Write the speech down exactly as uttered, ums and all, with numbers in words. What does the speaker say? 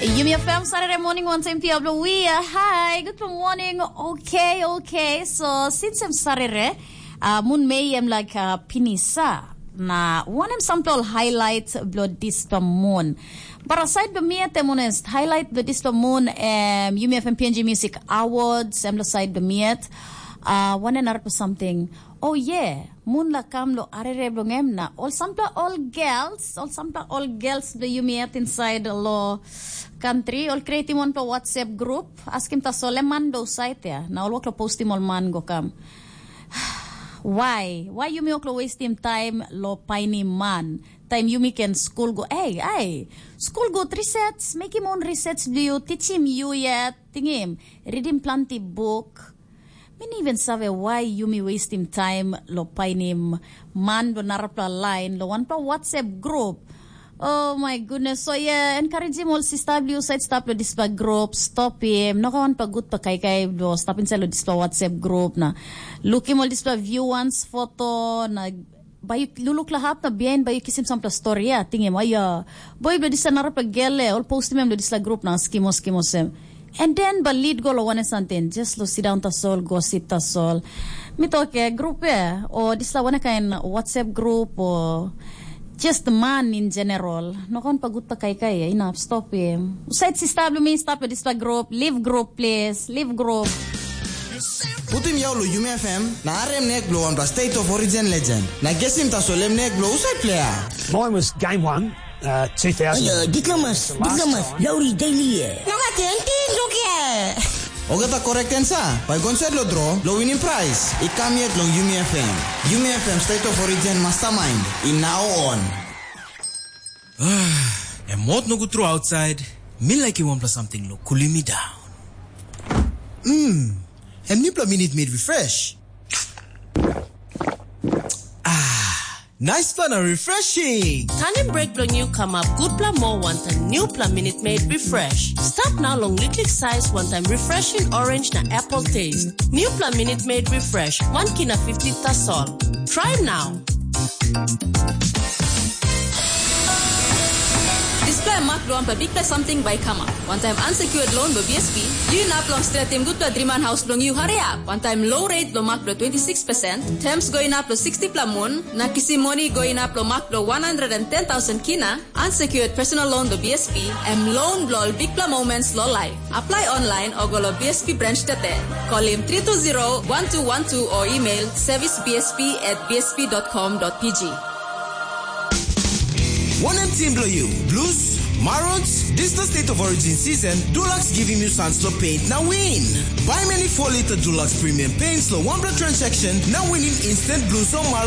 Yumi F M Saturday morning, one time P W. Hi, good morning. Okay, okay. So, since I'm Saturday, uh, Moon May, I'm like uh, Pinisa. Na one am sample highlight blood dispa moon. But aside the miat, I'm honest, highlight blood dispa moon, um, Yumi F M P N G Music Awards, I'm the side the miat. Uh, one and another something. Oh yeah, Moon la kam lo arere bilong em na ol sampela ol girls, ol sampela ol girls bilong yumi yet inside lo country, ol creatim wanpela WhatsApp group, askim tasol em man do sait ya, na ol wok lo postim ol man go kam. Why? Why yumi wok lo wastim time lo painim man? Time yumi can school go, hey, hey, school go research, making own research do you, teaching you yet, tingim, reading plenty book, Mi no even save why yumi wastim time lo painim man lo narapela lain lo wanpela WhatsApp group. Oh my goodness. So yeah, encouragim ol sista bli usaid stap lo dispela group, stop him. No ka wanpela gutpela kaikai lo stap inside lo dispela WhatsApp group na lukim ol dispela view once foto na bai yu luluk la hap na bihain bai yu kisim sampela stori ya, tingim, aia, boi bilong dispela narapela gel e ol postim em long dispela grup na skimos skimos em. And then bai lid go long wanem samting, just long sindaun tasol, gosip tasol. Mi tok ya, grup ya, o dispela wanem kain WhatsApp grup o just man in general. No kaun pa gutpa kaikai ya, inap stop ya. Usaid sista bilong mi stap ya dispela grup, leave group please, leave group. Putim yau long Yumi F M na harim nek bilong wanpela State of Origin legend. Na gesim tasol em nek bilong husat pleier? Mine was game one, uh, two thousand. Ayo, diplomas, diplomas, Lowry Daily. Nonga tenti lukia. Ogata correct answer. Bai gonset lo draw, lo winning prize. I kam yet long Yumi F M. Yumi F M State of Origin mastermind. I now on. Em mot nogut tru outside. Mi laikim wanpela samting lo kulim mi down. Mm, em nipela minit made refresh. Ah, nice fun and refreshing. Tanim break bilong yu kamap gutpela moa wantaim newpela Minute Maid Refresh. Stap nau long liklik sais wantaim refreshing orange na apple taste. Newpela Minute Maid Refresh, wan kina fifty tasol. Try now. Dispela mak bilong wanpela bikpela samting bai i kamap. Wantaim unsecured loan bilong B S P, yu inap long stretim gutpela driman haus bilong yu hariap. Wantaim low rate bilong mak bilong twenty six percent, terms go inap long sixty pela mun, na kisim moni go inap long mak bilong one hundred and ten thousand kina, unsecured personal loan bilong B S P, em loan bilong ol bikpela moments long life. Apply online o go long B S P branch tete. Kolim three two zero one two one two o email service B S P at B S P dot com dot P G. Wanem tim bilong yu? Blues? Marons? Dispela State of Origin season, Dulux givim yu sans lo paint na win. Baim any four liter Dulux premium paints lo wanpela transaction na winim instant Blues o Marons.